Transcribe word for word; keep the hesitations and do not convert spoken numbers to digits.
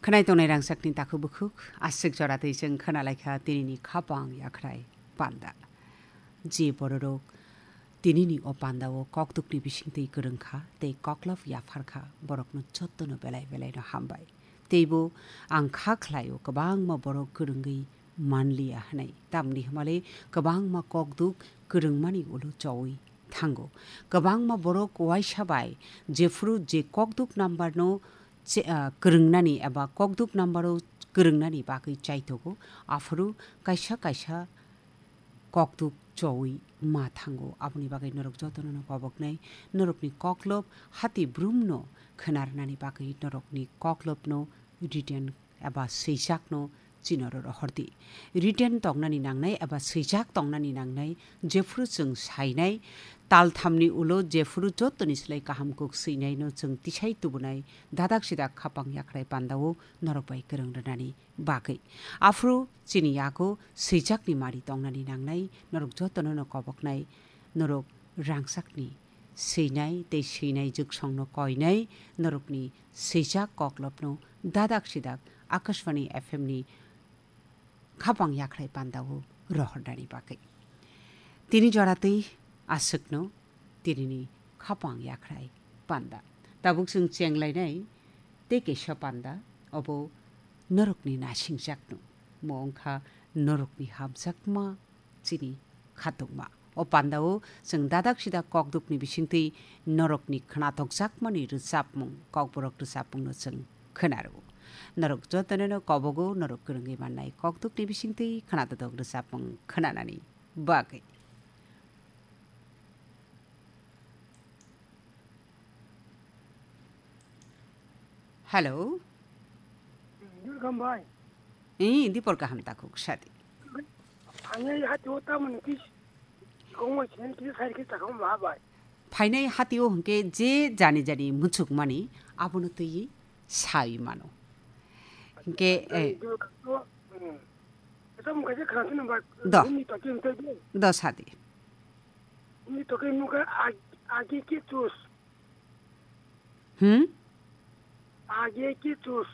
Khwnai tongnai rangchakni takhuk bukhuk, aswk jora twi chwng khwnalaikha tinini khapang yakhrai panda. Je bororok tinini o pandao kokdukni bisingtwi kwrwngkha tei koklop yapharkha, borokno jottono belai belaino hambai. Teibo ang kha khlaio kwbangma borok kwrwngwi manliya hwnwi. Tamni hwnmale kwbangma kokduk kwrwngmani ulo chowi thango. Kwbangma borok uaisa bai jephuru je kokduk number no che-, ah, kwrwngnani eba kokduk number o kwrwngnani bagwi chaithogo, aphuru kaisa kaisa kokduk chowi ma thango. Aboni bagwi norok jotono no koboknai, norokni koklop hati brumno khwnarnani bagwi norokni koklopno written eba swijakno chinoro rohordi. Written tongnani nangnai eba swijak tongnani nangnai, jephuru chwng sainai, talthamni ulo jephuru jottoni slai kaham kuk swinaino chwng tisai tubunai, dadak sidak khapang yakhrai pandao norok bai kwrwng rwnani bagwi. Aphuru chini yago swijakni mari tongnani nangnai, norok jotono no koboknai, norok rangchakni swinai tei swinai jwksongno koinai, norokni swijak koklopno dadak sidak Akashvani F M ni khapang yakhrai pandao rohornani bagwi. Tini jora twi aswkno tinini khapang yakhrai panda. Tabuk chwng chenglainai tei kaisa panda, obo norokni nasingjakno. Mo wngkha norokni hamjakma chini khatungma. O pandao chwng dadak sidak kokdukni bisingtwi norokni khwnatokjakmani rwchapmung, kokborok rwchapmungno chwng khwnaro. Norok jotono no kobogo norok kwrwngwi mannai kokdukni bisingtwi khwnatodok rwchapmung khwnanani bagwi. Hello. Welcome, bhai. Eh, Dipor kaham takhuk sadi. Ani hati o tamani kis, kongoi sini kis hari kis takam ma, bhai. Phainai hati o hwnkhe je jani jani muchukmani abono twi sai mano. Hwnkhe, eh, Ito mo kaisa khana sini, bhai. Do. Ni toki mte do. Do sadi. Ni toki muka ag-, agi ki tus. Hmm? Agi ki tus.